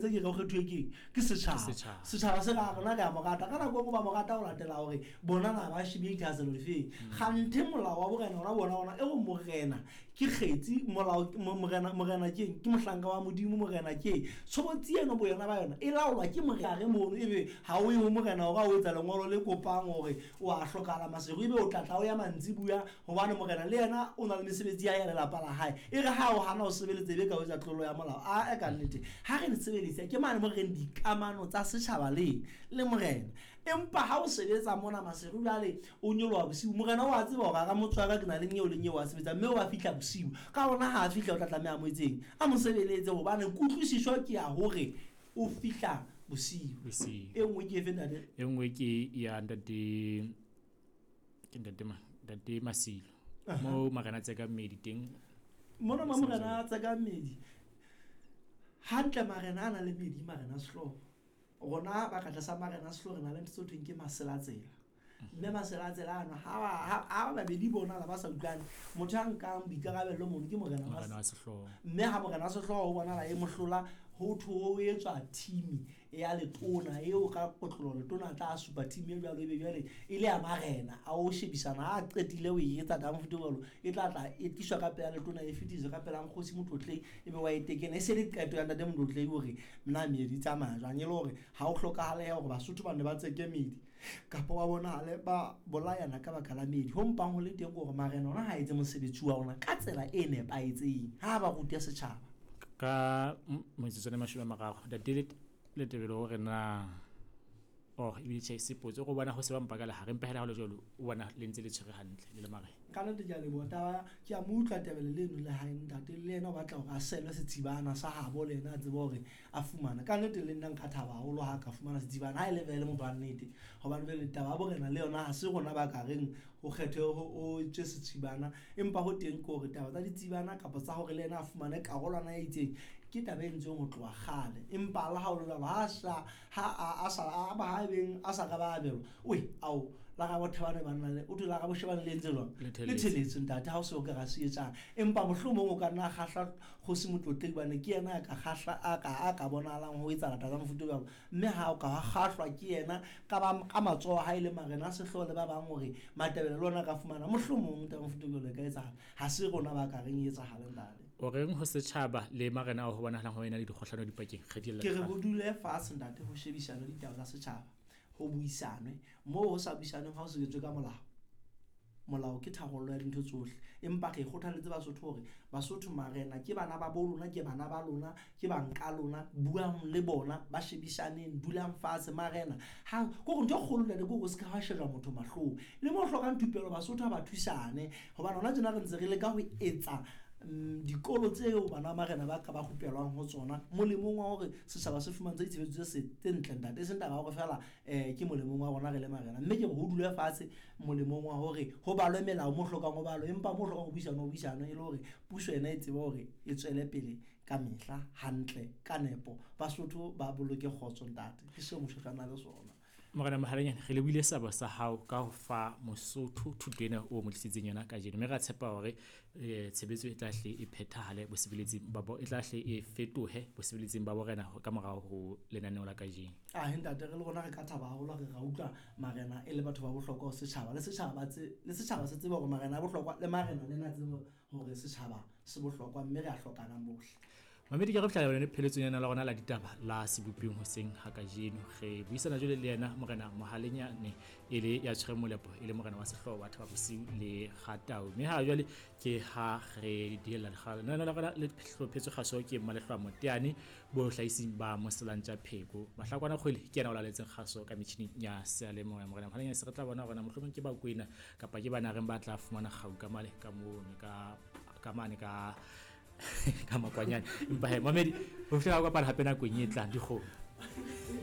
Tse ke re o kgethuwe ke eng? Ke setjhaba. Setjhaba. Setjhaba se ra rona re a mo rata. Ka nako e nngwe ba mo rata ho latela hore bona na ba shebile dithahasello difeng. Kganthe molao wa borena ona bona ona e re morena ke kgetsi, molao morena morena ke eng? Ke mohlanka wa Modimo, morena ke eng? Tshobotsi eno boyona ba yona e laolwa ke morena mono ebe ha o ye ho morena hore a o etsa lengolo le kopang hore o a hlokahala Maseru ebe o tla tla o ya mantsibuya Hobane morena le yena o na le mesebetsi ya hae ya lelapa la hae. E re ha o hana ho sebeletsa e be ka o etsa tlolo ya molao. Ae ka nnete. Ha re sebedisa ke mane mo re reng dikamano tsa setjhaba le le morena. Empa ha o sebetsa mona Maseru jwale o nyoloha bosiu, morena o a tseba hore hara motse wa ka ke na le nyeo le nyeo wa sebetsa mme o a fihla bosiu. Ka hona ha a fihla o tla tlameha a mo etseng? A mo sebeletse hobane kutlwisiso ke ya hore o fihla bosiu. Bosiu. E nngwe ke efe ntate? E nngwe ke ya ntate Ke ntate ma ntate Masilo. Mo marena tse ka mmedi teng. Mona mo morena tse ka mmedi. Hantle marena a na le medi marena sehlooho. Rona ba ka tlasa marena sehlooho re na le ntho tse thweng ke maselatsela. Mme maselatsela ano ha ha babedi bona la ba sa utlwane motho ya nkang boikarabello mono ke morena wa sehlooho. Mme ha morena wa sehlooho ho bonala e mohlola ho thwe ho etswa thimi ya letona eo ka kotlolo letona a tla supa thimi e jwalo ebe jwale e le ya marena a o shebisana ha a qetile ho e etsa ka mofuta jwalo e tla tla e tliswa ka pela letona e fetiswe ka pela nkgosi Motlotlei ebe wa e tekena e se le qeto ya ntate Motlotlei hore na meedi e tsamaya jwang e le hore ha o hlokahalehe hore Basotho ba ne ba tseke meedi kapa ba bonahale ba bolayana ka baka la meedi ho mpang ho le teng ke hore marena ona ha etse mosebetsi wa ona ka tsela e nepahetseng ha ba rute setjhaba. Ka metsotswana e 30 ntate Letebele o re na oh ebile tjhe se potso go bona go se ba mpa ka lehare empa hela ha le jwalo o bona le ntse le tshwere hantle le le marena. Ka nnete ke a leboha taba ke a mo utlwa Tebele leno le hae ntate le yena o batla hore a selwe setsibana sa habo le yena a tsebe hore a fumane. Ka nnete le nna nka thaba haholo ha ka fumana setsibana ha e le vele motho wa nnete hobane jwale taba ya borena le yona ha se rona ba ka reng ho kgethwe ho etswe setsibana empa ho teng ke hore taba tsa ditsibana kapa tsa hore le yena a fumane karolwana e itseng ke taba e entsweng ho tloha kgale empa le ha o le jwalo ha sa ha a sa a ba ha beng a sa ka ba abelwa oe ao la ga bothebane banna le o thwe la ga boshebane le entse jwang le theletse ntate ha o se o ka ga se etsang empa mohlomong o ka nna kgahla kgosi Motlotlei hobane ke yena a ka kgahla a ka a ka bonahalang ho etsahala taba tsa mofuta o jwalo mme ha o ka wa kgahlwa ke yena ka ba ka matsoho a hae le marena a sehlooho le ba bang hore Matebele le ona a ka fumana mohlomong taba mofuta o jwalo e ka etsahala ha se rona ba ka reng e etsahale ntate. O reng ho setjhaba le marena ao ho bonahalang ho ena le dikgohlano dipakeng? Re di Ke re ho dule fatshe ntate ho shebisanwe ditaba tsa setjhaba ho buisanwe moo ho sa buisanweng ha ho sebetswe ka molao. Molao ke tharollo ya dintho tsohle. Empa re kgothaletse Basotho hore, Basotho, marena ke bana ba bo lona, ke bana ba lona, ke bang ka lona, buang le bona, ba shebisaneng, dulang fatshe. Marena ha, ke hore ntho e kgolo ntate ke hore o se ka wa shejwa motho mahlong. Le mo hlokang thupelo Basotho ha ba thusane. Hobane hona tjena re ntse re leka ho etsa dikolo tseo bana ba marena ba ka ba rupelwang ho tsona molemong wa hore setjhaba se fumantshwe ditshebeletso tse ntle ntate. E seng taba ya hore feela ke molemong wa rona re le marena. Mme ke re ho dulwe fatshe molemong wa hore ho balwe melao mo hlokang ho balwe, empa mo hlokang ho buisanwe ho buisanwe e le hore puso yona e tsebe hore e tswele pele ka mehla hantle ka nepo. Basotho ba boloke kgotso ntate, ke seo Moshoeshoe a na le sona. Morena Mohalanyane, re lebohile seabo sa hao ka ho fa Mosotho thuto ena o mo tlisitseng yona kajeno, mme ra tshepa hore tshebetso e tla hle e phethahale bosebeletsing ba e tla hle e fetohe bosebeletsing ba borena ka morao ho lenaneo la kajeno. Ahe ntate, re le rona re ka thaba haholo ha re ra utlwa marena e le batho ba bohlokwa ho setjhaba. Le setjhaba ba tse, le setjhaba se tsebe hore marena a bohlokwa, le marena le na tsebe hore setjhaba se bohlokwa mme re a hlokanang bohle. Mamedi ke re fihla yone pheletsong yana la rona la ditaba la seboping hoseng ha kajeno. Re buisana jwale le yena Morena Mohalenyane e le ya tshwereng molepo e le morena wa sehlooho wa Thaba Bosiu le Kgatau. Mme ha jwale ke ha re dihella lekgala. Lenaneo la rona le hlophetswe kgaso ke Mmalehlwa Moteane bohlahising ba Moselantja Pheko. Mahlakwana Kgwele ke yena o laletseng kgaso ka metjhining ya seyalemoya. Morena Mohalanyane se re tla bona hore na mohlomong ke Bakwena kapa ke Banareng ba tla fumana kgau ka male ka mono ka ka mane ka ka makwanyane. Empa he mamedi ho fihlela kopana hape nakong e tlang dikgomo.